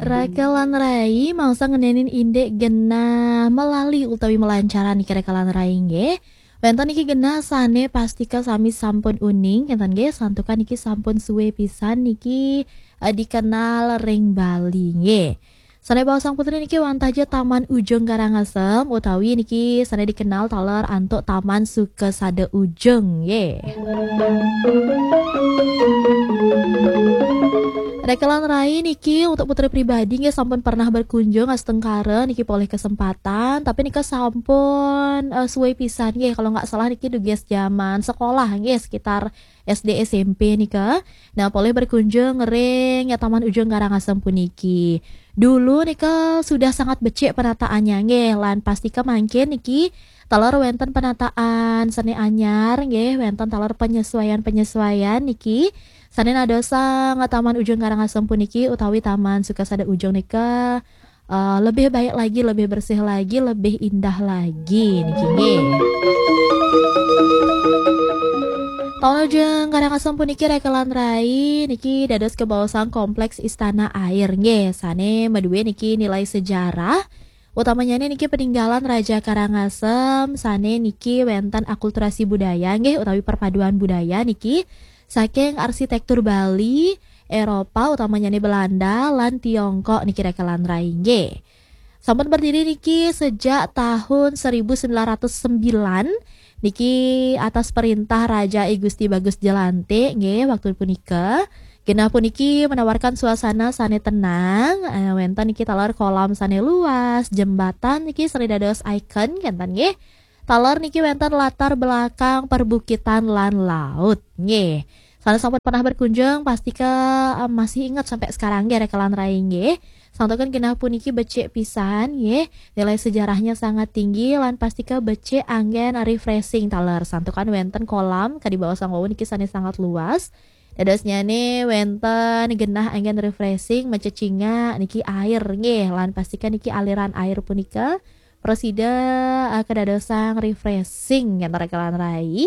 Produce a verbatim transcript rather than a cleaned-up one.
Raka lan rai, mangsa ngenenin indik genah melali utawi melancaran niki raka lan rai nggih. Wenten niki genah sane pastika sami sampun uning, ngenten nggih, santukan niki sampun suwe pisan niki, eh, dikenal ring Bali nggih. Sane baosang putri niki wantah ja Taman Ujung Karangasem utawi niki sane dikenal taler antuk Taman Sukasada Ujung nggih. Raka lan rai niki untuk putri pribadi nggih sampun pernah berkunjung astengkara niki polih kesempatan, tapi nika sampun, eh, suwe pisan nggih, kalau nggak salah niki dugas zaman sekolah nggih, sekitar S D S M P nika. Nah, polih berkunjung ring ya Taman Ujung Karangasem puniki. Dulu nika sudah sangat becik penataannya nggih, lan pastika mangkin niki taler wenten penataan sane anyar nggih, wenten taler penyesuaian-penyesuaian niki sane nadosang Taman Ujung Karangasem puniki utawi Taman Sukasada Ujung nika, eh, lebih baik lagi, lebih bersih lagi, lebih indah lagi niki nggih. Taman Ujung Karangasem puniki raka lan rai niki dados kabaosang kompleks Istana Air nggih, sane madue niki nilai sejarah. Utamanya niki peninggalan Raja Karangasem sane niki wenten akulturasi budaya nggih utawi perpaduan budaya niki saking arsitektur Bali, Eropa, utamanya Belanda lan Tiongkok niki raka lan rai nggih. Sampun berdiri niki sejak tahun seribu sembilan ratus sembilan niki atas perintah Raja I Gusti Bagus Jelante nggih waktu punika. Genah puniki menawarkan suasana sane tenang, eh, wenten niki taler kolam sane luas, jembatan niki sane dados ikon kenten nggih. Taler niki wenten latar belakang perbukitan lan laut nggih. Sane sampun pernah berkunjung pastika, eh, masih ingat sampai sekarang nggih raka lan rai nggih. Santukan genah puniki becik pisan nggih. Nilai sejarahnya sangat tinggi lan pastika becik anggen refreshing taler. Santukan wenten kolam kadi baosang wau niki sane sangat luas. Dadosnyane wenten genah anggen refreshing, macecingak niki air nggih, lan pastika niki aliran air punika prasida, eh, kadadosang refreshing ngenten raka lan rai.